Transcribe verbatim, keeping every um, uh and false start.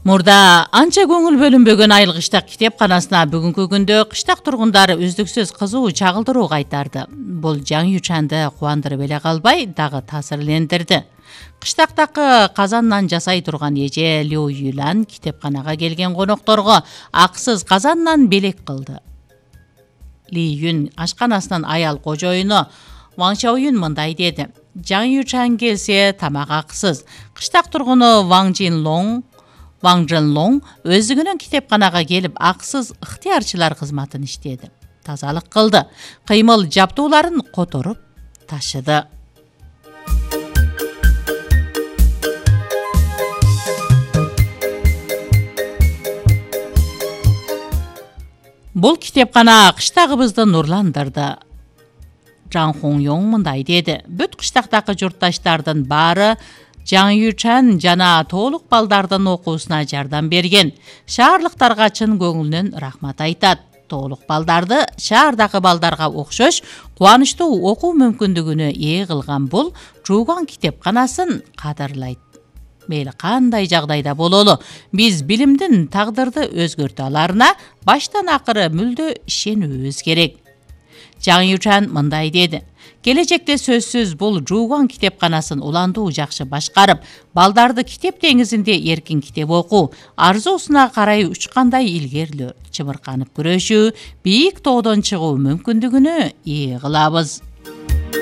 Мурда анча көңүл бөлүнбөгөн Айыл кыштак китепканасына бүгүнкү күндө кыштак тургундары үздүксүз кызуу чагылдыруу кайтарды. Бул Жаңы Ючанды кубандырып эле калбай, дагы таасирлендирди. Кыштактагы казандан жасай турган эже Лю Юлян китепканага келген конокторго аксыз казандан белек кылды. Ли Юн ашканасынын аял кожоюну Ваң Шаоюн мындай деди: Жаңы Ючан келсе тамак аксыз. Кыштак тургуну Ваң Жинлоң Ваң Жинлоң өзүгүнүн китепканага келип аксыз ыктыярчылар кызматын иштеди. Тазалык кылды, кыймыл жаптууларын которуп ташыды. Бул китепкана кыштагыбызды нурландырды. Жан Хонgyong мындай деди: бүт кыштактагы журтташтардын баары Жаңы Ючан жана толук балдардын окуусуна жардам берген. Шаарлыктарга чын көңүлүнөн рахмат айтат. Толук балдарды шаардагы балдарга окшош кубанычтуу окуу мүмкүндүгүнө ээ кылган бул Жууган китепканасын кадырлайт. Мейли кандай жагдайда бололу, биз билимдин тагдырды өзгөртө аларына баштан акыры мүлдө ишенүүбүз керек. Жаңы Ючан мындай деди: келечекте сөзсүз бул Жууган китепканасын уландуу жакшы башкарып, балдарды китеп деңизинде эркин китеп окуу, арзуусуна карай учкандай илгерлөө, чымырканып күрөшүү, бийик тоодон чыгуу мүмкүндүгүнө ээ кылабыз.